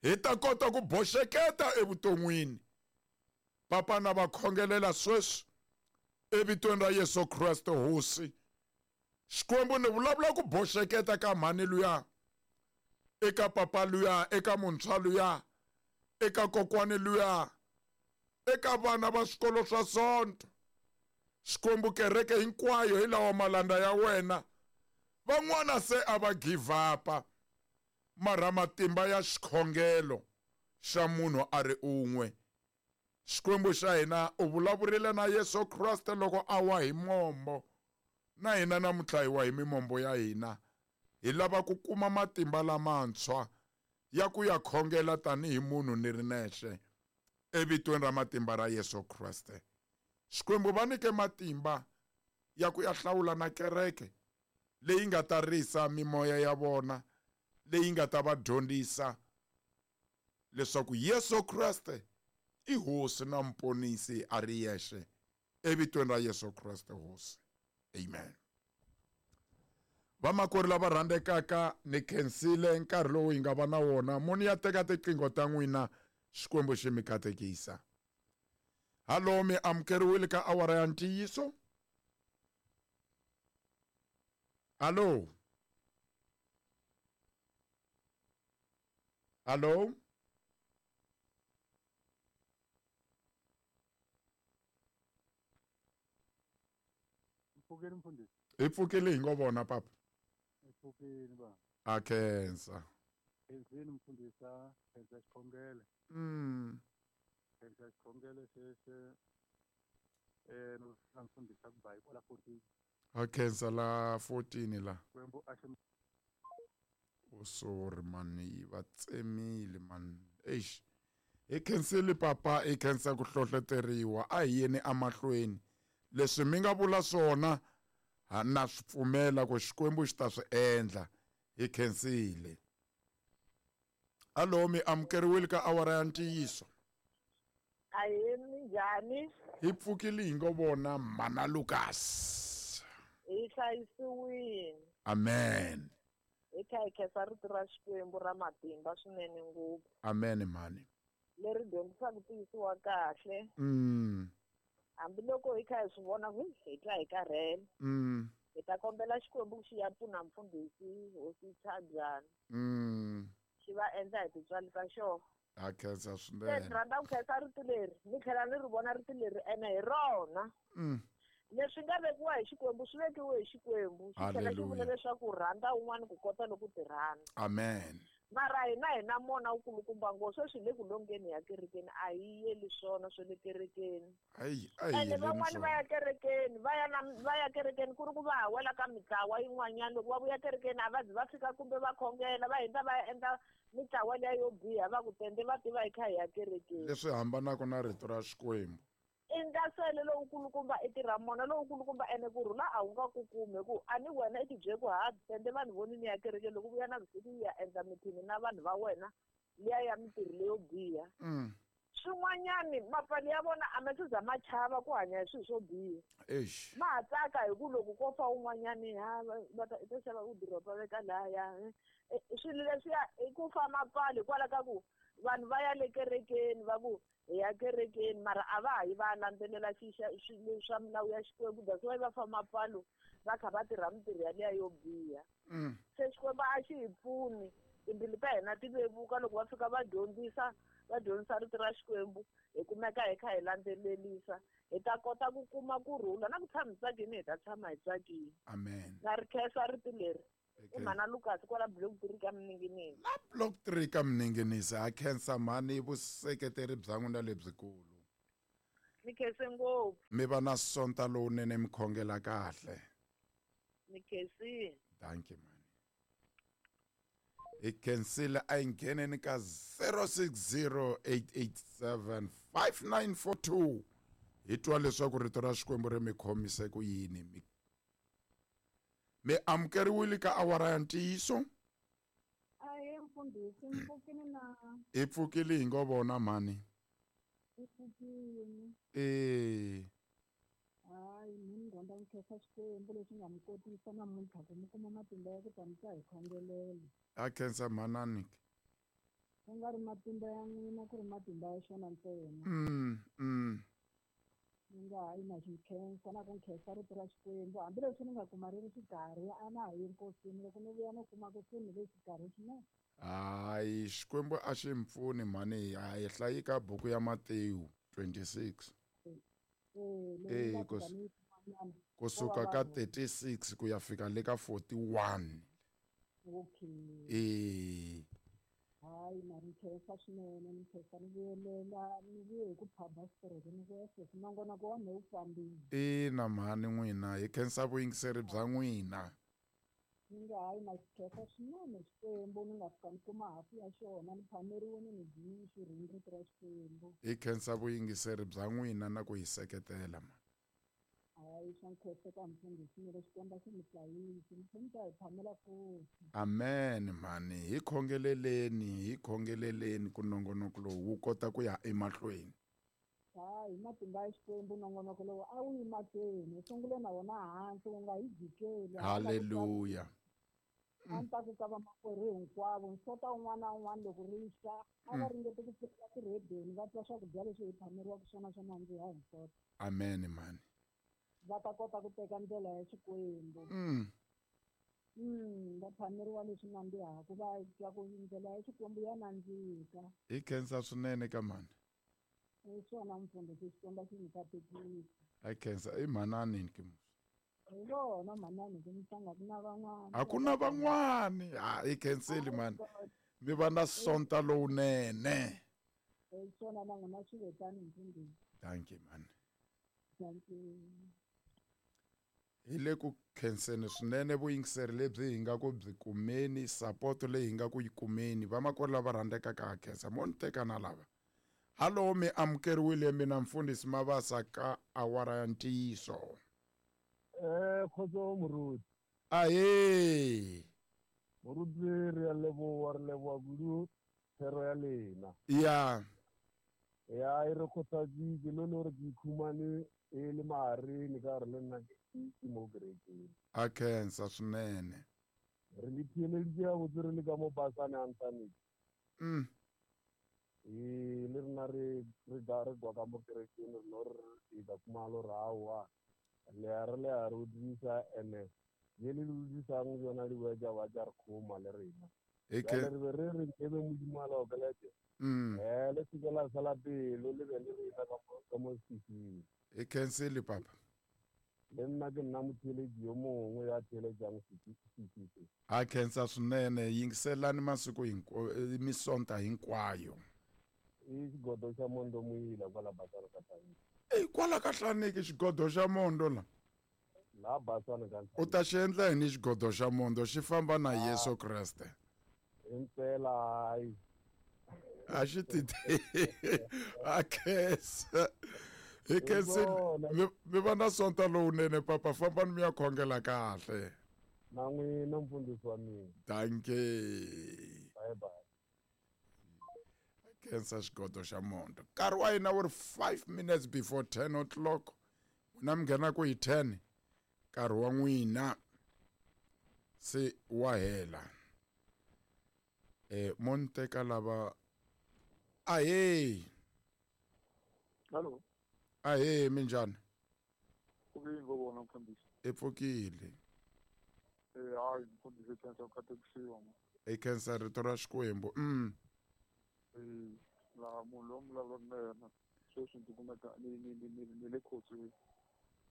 Speaker 1: Hi ta kota ku boxeketa evuton'wini. Papa na va khongelela sweswi evitweni ra Yesu Kreste Hosi. Xikwembu ni vulavula ku boxeketa ka mhani luya, eka papa luya, eka muntshwa luya, eka kokwani luya, eka vana va swikolo swa Sonto. Xikwembu kereke hinkwayo hi lawa malanda ya wena. Van'wana se a va give up-a, mara matimba ya xikhongelo xa munhu a ri un'we. Xikwembu xa hina u vulavurile na Yesu Kreste loko a wa hi mombo. Na hina namuntlha hi wa hi mimombo ya hina. Hi lava ku kuma matimba lamantshwa ya ku ya khongela tanihi munhu ni ri nexe evitweni ra matimba ra Yesu Kreste. Xikwembu va nyike matimba ya ku ya hlawula na kereke leyi nga ta risa mimoya ya vona, leyi nga ta va dyondzisa leswaku Yesu Kreste i Hosi na Muponisi a ri yexe evitweni ra Yesu Kreste Hosi. Amen. Vamakwerhu lava rhandzekaka, ni khensile nkarhi lowu hi nga va na wona. Muni ya teka tiqingho ta n'wina, Xikwembu xi mi katekisa. Hallo, mi amukeriwile ka awara ya ntiyiso. Hallo. Hallo.
Speaker 2: Pfukeni mfundhisi.
Speaker 1: Hi pfukile hi ngo vona papa.
Speaker 2: Hi pfukile ba.
Speaker 1: A khensa.
Speaker 2: Khensini mfundhisa, khensa xikhongelo.
Speaker 1: Mm.
Speaker 2: Khensa xikhongelo xexo. Eh no mfundhisa ku ba kwala fourteen.
Speaker 1: A khensa la fourteen la.
Speaker 2: Xikwembu a xi
Speaker 1: O sorry man, yi va tsemile man. Eish. Hi khensile papa, hi khensa ku hlohloteriwa. A hi yeni amahlweni. Leswi mi nga vula swona na swi pfumela ku Xikwembu xi ta swi endla. Hi khensile. Hallo, mi amukeriwile ka awara ya ntiyiso.
Speaker 3: Ahee, minjhani?
Speaker 1: Hi pfukile hi ngo vona mana Lucas.
Speaker 3: Hi hlayisiwile.
Speaker 1: Amen.
Speaker 3: Hi kha hi khensa rito ra Xikwembu ra matimba swinene ngopfu.
Speaker 1: Amen mhani.
Speaker 3: Leri dyondzisaka tiyisiwa kahle.
Speaker 1: Mm.
Speaker 3: Hambiloko hi kha hi swi vona ku hi twa hi karhele.
Speaker 1: Mm.
Speaker 3: Hi ta kombela Xikwembu xi ya pfuna mfundhisi Hosi Chabyana.
Speaker 1: Mm.
Speaker 3: Xi va endla hi tintswalo ta xona.
Speaker 1: A khensa swinene.
Speaker 3: Se ni rhandza ku khensa rito leri, ni tlhela ni ri vona rito leri ene hi rona.
Speaker 1: Mm.
Speaker 3: Leswi nga vekiwa hi Xikwembu swi vekiwe hi Xikwembu. Xi tlhela xi vula leswaku rhandza un'wana ku kota loko ti rhandza.
Speaker 1: Amen.
Speaker 3: Mara hina hi na mona wukulukumba ngopfu, sweswi hi le ku longeni ya kerekeni, a hi yeli swona swa le kerekeni.
Speaker 1: Ayi, a hi
Speaker 3: Ene
Speaker 1: yeleni
Speaker 3: van'wani va
Speaker 1: swona.
Speaker 3: ya kerekeni, va ya na va ya kerekeni ku ri ku va ha wela ka mitlawa yin'wanyana. Loko va vuya kerekeni a va zi va fika kumbe va khongela, va hundza va ya endla mitlawa liya yo biha, va ku tende va tiva hi kha hi ya kerekeni.
Speaker 1: Leswi hambanaka na rito ra Xikwembu.
Speaker 3: I ndlaselo lowukulukumba i tirha mona lowukulukumba ene kurhula a wu nga ku kumi hi ku a ni wena i tibyele ku ha tende vanhu voni ni ya kerekeni loko vuya na vusiku yi ya endla mithini na vanhu va wena liya ya mintirho leyo biha. Swin'wanyani mapfalo ya vona a ma se za ma chava ku hanya hi swilo swo biha.
Speaker 1: Eish.
Speaker 3: Ma ha tsaka hi ku loko ko fa un'wanyani ha va ta i ta xava ku diropa veka lahaya. Swilo leswiya i ku fa mapfalo hikwalaho ka ku vanhu va ya le kerekeni va ku hi ya kerekeni mara a va ha yi va landzelela swilo swa milawu ya Xikwembu, that's why va fa mapfalo va kha va tirha mintirho yaliya yo biha. Se Xikwembu a xi hi pfuni, timbilu ta hina ti vevuka loko va fika va dyondzisa va dyondzisa rito ra Xikwembu hi kumeka hi kha hi landzelelisa hi ta kota ku kuma kurhula na ku tshama hi tsakini hi ta tshama hi tsakile.
Speaker 1: Amen.
Speaker 3: Na ri khensa rito leri. I mhana Lucas kwala block three ka Mninginisi.
Speaker 1: La block three ka Mninginisi ha khensa mhani vuseketeri bya n'wina lebyikulu.
Speaker 3: Ni khense ngopfu.
Speaker 1: Mi va na sonta lowunene mi khongela kahle.
Speaker 3: Ni khensile.
Speaker 1: Thank you mhani. Hi khensile a hi ngheneni ka zero six zero eight eight seven five nine four two hi twa leswaku rito ra Xikwembu ri mi khomise ku yini. Mi mi amukeriwile ka awara ya ntiyiso?
Speaker 4: Ahe mfundhisi, mi pfukile na?
Speaker 1: Hi pfukile hi ngo vona mhani.
Speaker 4: Hi pfukile.
Speaker 1: Eh.
Speaker 4: Hayi, mina ni rhandza ku khensa Xikwembu lexi nga mi kotisa namuntlha ku mi kuma matimba ya ku ta mi ta hi khongelela.
Speaker 1: A khensa mhanani.
Speaker 4: Ku nga ri matimba ya n'wina ku ri matimba ya xona ntsena.
Speaker 1: Mm, mm.
Speaker 4: Ni nga hayi na xi khensa na ku khensa rito ra Xikwembu hambileswi ni nga kuma ri ri xikarhi a na ha yi enkosini loko ni vuya no kuma ku se ni le xikarhi swinene.
Speaker 1: Hayi, Xikwembu a xi mi pfuni mhani, a hi hlayi ka buku ya Matewu twenty-six.
Speaker 4: Eh,
Speaker 1: Eh, kusuka ka thirty-six ku ya fika le ka forty-one.
Speaker 4: Okay.
Speaker 1: Eh.
Speaker 4: Hayi, na ri khensa swinene, ni khensa ni vuyelela ni vuye hi ku phaba xitereke ni vuya sweswi nongonoko wa mehe wu fambile.
Speaker 1: Ina mhani n'wina hi khensa vuyingiseri bya n'wina.
Speaker 4: Ni nga hayi na xi khensa swinene Xikwembu ni nga fika ni kuma hafu ya xona ni phameriwile ni dyi xirhundzu rito ra Xikwembu.
Speaker 1: Hi khensa vuyingiseri bya n'wina na ku hi seketela mhani.
Speaker 4: Hayi, swa nkhenseka mfundhisi ni le Xikwembu xi mi hlayisi mi tlhela mi ta hi phamela futhi.
Speaker 1: Amen mhani, hi khongeleleni, hi khongeleleni ku nongonoko lowu wu kota ku ya emahlweni.
Speaker 4: Hayi, matimba ya Xikwembu nongonoko lowu a wu yi mahlweni, hi sungule na wona hansi wu nga hi jikeli.
Speaker 1: Hallelujah.
Speaker 4: A ni ta ku ka vamakwerhu hinkwavo nsota wun'wana na wun'wana loko ri xa a va ringete ku pfula tirhedeni va twa swakudya leswi hi phameriwaka swona swa nandziha hi nsota.
Speaker 1: Amen mhani.
Speaker 4: Va ta kota ku teka ndlela ya Xikwembu.
Speaker 1: Mm.
Speaker 4: Mm, va phameriwa leswi nandzihaka va twa ku ndlela ya Xikwembu ya nandzika.
Speaker 1: Hi khensa swinene ka mhani.
Speaker 4: Hi swona mfundhisi, Xikwembu xi mi katekisa.
Speaker 1: Hi khensa i mhanani ke musi.
Speaker 4: Hi vona mhanani ke mhlanga ku na van'wana.
Speaker 1: A ku na van'wani. Ha hi khenseli mhani. Mi va na sonta lowunene.
Speaker 4: Hi swona na n'wina swi vetani mfundhisi.
Speaker 1: Thank you mhani.
Speaker 4: Thank you.
Speaker 1: Hi le ku khenseni swinene vuyingiseri lebyi hi nga ku byi kumeni, support leyi hi nga ku yi kumeni. Vamakwerhu lava rhandzekaka ha khensa mo ni teka na lava. Hallo, mi amukeriwile mina mfundhisi Mabasa ka awara ya ntiyiso.
Speaker 2: Eh, khotso moruti.
Speaker 1: Ahee.
Speaker 2: Moruti re a leboha, re leboha kudu thero ya lena.
Speaker 1: Ya.
Speaker 2: Ya e re kgothatsitse le le hore ke ikhumane e le mahareng ka hore le nna ke mo kerekeng.
Speaker 1: A khensa swinene.
Speaker 2: Re le theeleditse gabotse re le ka mo basane Anthony.
Speaker 1: Mm.
Speaker 2: E le rena re re ga re kwa ka mo kerekeng re no re e ka kuma lo rawa. Le a re le a re utlwisa ene ye le le utlwisang yona di bua tsa ba tsa re khoma le rena.
Speaker 1: E ke
Speaker 2: re be re re nkebe Modimo a laokelete.
Speaker 1: Mm.
Speaker 2: Eh le se ke la sala pelo le be le rena ka mo ka mo sefifing.
Speaker 1: E khensile papa.
Speaker 2: Le nna ke nna motheeletsi yo mongwe ya theeletsang sefifi.
Speaker 1: A khensa swinene, yingiselani masiku hinkwayo, misonta hinkwayo.
Speaker 2: I xigodo xa mondo muyila kwala Basana ka Hlaneki.
Speaker 1: Ey, kwala ka Hlaneki xigodo xa mondo la.
Speaker 2: La Basana ka
Speaker 1: U ta xi endla yini xigodo xa mondo xi famba na Yesu Kreste?
Speaker 2: Impela hayi.
Speaker 1: A xi titi. A khensa. Hi khensile.
Speaker 2: Swona.
Speaker 1: Mi mi va na sonta lowunene papa, fambani mi ya khongela kahle.
Speaker 2: Na n'wina mfundhisi wa mina.
Speaker 1: Dankie.
Speaker 2: Bye bye.
Speaker 1: Khensa xigodo xa monto. Nkarhi wa hina wu ri five minutes before ten o'clock. N'wina mi nghena ku hi ten, nkarhi wa n'wina se wa hela. Eh mo ni teka lava. Ahee.
Speaker 5: Hallo,
Speaker 1: Ahee, minjhani?
Speaker 5: Ku yini vona mfundhisi?
Speaker 1: I pfukile.
Speaker 5: Eh hayi mfundhisi, khensa ku katekisiwa ma.
Speaker 1: I khensa rito ra Xikwembu. Mm.
Speaker 5: Eh laha munhu loyi mi vulavulaka na yena sweswi ndzi kumeka ni ni ni ni ni le khotsweni.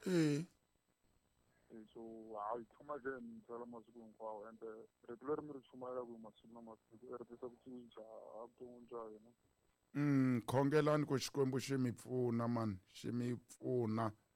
Speaker 1: Eh.
Speaker 5: Eh so hayi tshama ke ni tsala masiku hinkwawo, ende rito leri mi ri chumayelaka hi masiku na masiku i ri tisa ku cinca evuton'wini bya hina.
Speaker 1: Mm, khongelani ku Xikwembu xi mi pfuna mani, xi mi pfuna.